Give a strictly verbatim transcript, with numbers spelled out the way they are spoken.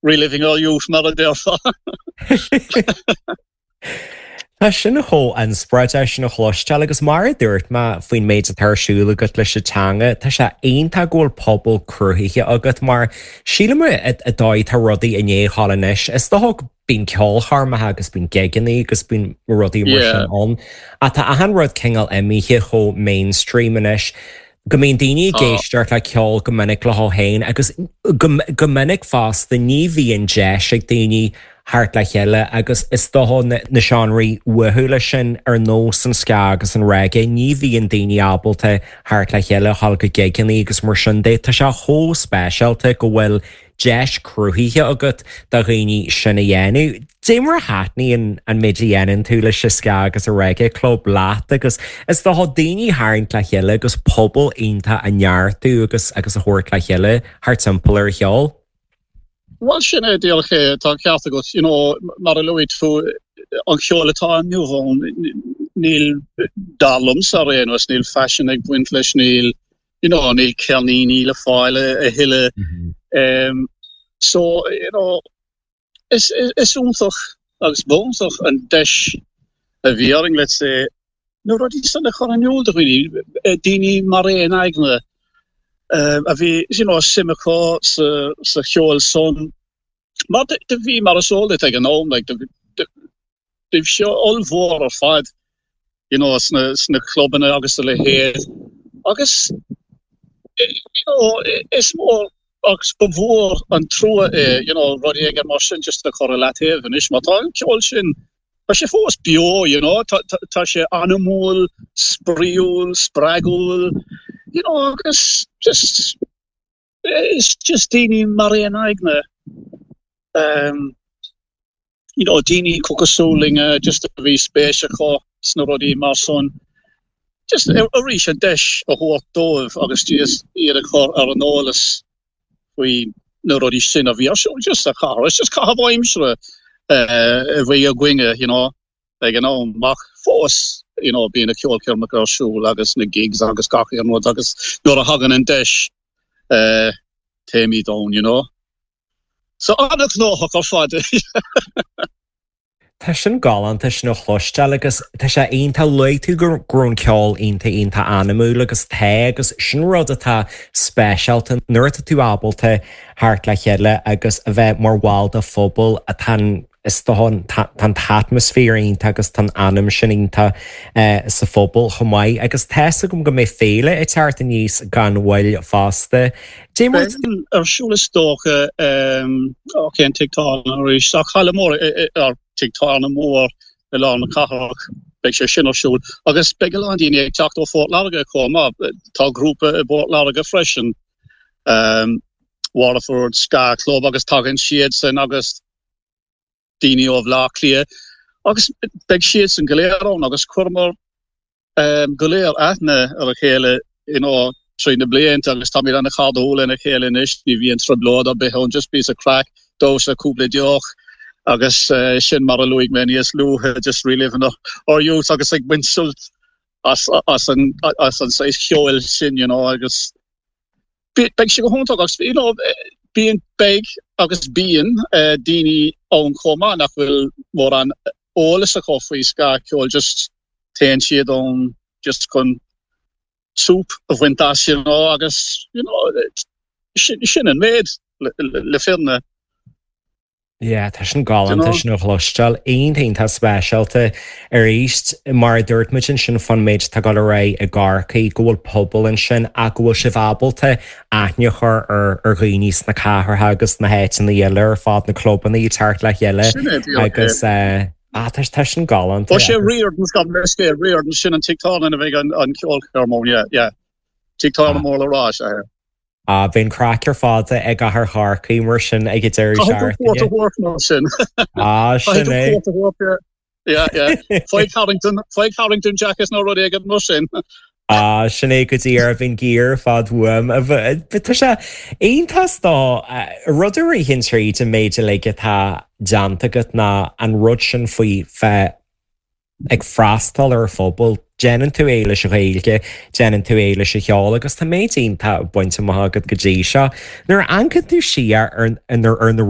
Reliving our youth mar a déarfá. Tá sin chomh inspioráideach sin a chloisteáil agus mar a dúirt mé faoin méid atá ar siúl agat leis an teanga, tá sé iontach go bhfuil pobal cruthaithe agat mar sílim i dóigh tá rudaí i ndiaidh a ghabháil anois. Is dócha bíonn ceolchoirmeacha agus bíonn gigeanna agus bíonn rudaí mar sin ann. Ach tá achan rud cineál imithe chomh mainstream anois go mbíonn daoine ag éisteacht le ceol go minic leo féin agus go minic fosta ní bhíonn deis ag daoine theacht le chéile agus is dócha na seánraí uathúla sin ar nós an ska agus an reggae ní bhíonn daoine ábalta theacht le chéile dhul go gigeanna agus mar sin de. Tá sé chomh speisialta go bhfuil deis cruthaithe agat do dhaoine sin a dhéanamh. Dé mar a thaitníonn an méid a dhéanann tú leis an ska agus an reggae club leat agus is dócha daoine a tharraingt le chéile agus pobal iontach a neartú agus agus a thabhairt le chéile thart timpeall ar cheol. Bhuel sin é díreach é tá an ceart agat you know, mar a luaigh tú an ceol atá inniu ann níl dar liomsa ar aon nós níl faisean ag baint leis níl you know, níl ceirníní le fáil a thuilleadh. Mm -hmm. um, so you know, is, is, is iontach agus b'iontach an deis a bhí againn let's say na rudaí san a chur in iúl do dhaoine daoine mar aon aigne uh, a bhí you know, suim acu sa, sa cheol san mar do bhí mar is eol ag an am like, bhí sé ollmhór ar fad you know, sna, sna clubanna agus a leithéid agus you know, is mór agus ba mhór an trua é you know, rudaí ag mar sin just a chur i leataobh anois má tá an ceol sin Tá sé fós beo you know, tá, tá, tá sé anamúil, spraíúil, spreagúil, you know, agus just it's just daoine mar aon aigne um, you know, daoine cosúil linn just a bhí spéis acu sna rudaí mar san. Just arís an deis a thabhairt dóibh agus just iad a chur ar an eolas faoi na rudaí sin a bhí ar siúl just sa chathair. It's just caitheamh aimsire uh, a bhí againne, you know, ag an am ach fós you know, bíonn na ceolchoirmeacha ar siúl agus na gigs agus gach aon rud agus nuair a thagann an deis uh, téimid ann, you know. So an-ghnóthach ar fad. Tá sin galánta sin a chloisteáil agus tá sé iontach luaigh tú go raibh an ceol iontach iontach anamúil agus tá agus sin rud atá speisialta nuair atá tú ábalta theacht le chéile agus a bheith mar bhall de phobal atá is tá an t-atmaisféar iontach agus tá anam sin iontach eh, sa phobal chomh maith agus tá a fhios agam go mbeidh féile ag teacht aníos gan mhoill fosta. Dé mar ar siúl is dócha cén tigh arís ach halla mór ar tigh tábhairne mór i lár na cathrach beidh sé sin ar siúl agus beidh a lán daoine ag teacht ó Phort Láirge chomh maith tá grúpa i bPort Láirge freisin um, Waterford Ska Club agus tagann siad sin agus daoine ó Bhaile Átha Cliath agus beidh siad san go léir ann agus chuireamar um, go léir aithne ar a chéile you know, trí na blianta agus táimid an-chairdiúil lena chéile anois ní bhíonn trioblóid ar bith ann just píosa craic damhsa cúpla deoch agus uh, sin mar a luaigh mé níos luaithe just reliving our youth agus ag baint sult as, as an as an saghas ceoil sin you know, agus beidh sé go hiontach agus you know, bíonn beidh agus bíonn uh, daoine ann chomh maith nach bhfuil mórán eolas acu faoi ska ceol just téann siad ann just chun súp a bhaint as you know, agus you know, sin, sin an méid le, le, le fírinne. Yeah, tá sin galánta sin a chloisteáil iontach speisialta arís mar a dúirt muid ansin faoin méid atá ag dul ar aghaidh i gCorcaigh go bhfuil pobal ansin ach go bhfuil sibh ábalta aithne a chur ar ar dhaoine sna cathracha agus na háiteanna eile ar fad na clubanna ag teacht le chéile agus eh, ah, tá tá sin galánta. Ó sé Riordan's gabh mo leithscéal Riordan's sin an tigh tábhairne a bheidh an an ceolchoirm yeah, yeah. Tigh tábhairne mór le rá sé. Ah, bíonn craic ar fad i gcathair Chorcaí mar sin ag an deireadh seachtaine. sin. Ah, sin é. Yeah, yeah. Faigh Harrington, faigh Harrington jacket nó rud éigin mar sin. Ah, sin é go dtí ar bhín géar fad uaim. Tá sé iontach dá rud a ritheann tríd an méid uilig atá déanta agat ná an rud sin faoi bheith ag freastal ar phobal. Déanann tú é leis an Ghaeilge, déanann tú é leis an cheol agus tá méid iontach bainte amach agat go dtí seo. Nuair a amharcann tú siar ar, ar, ar na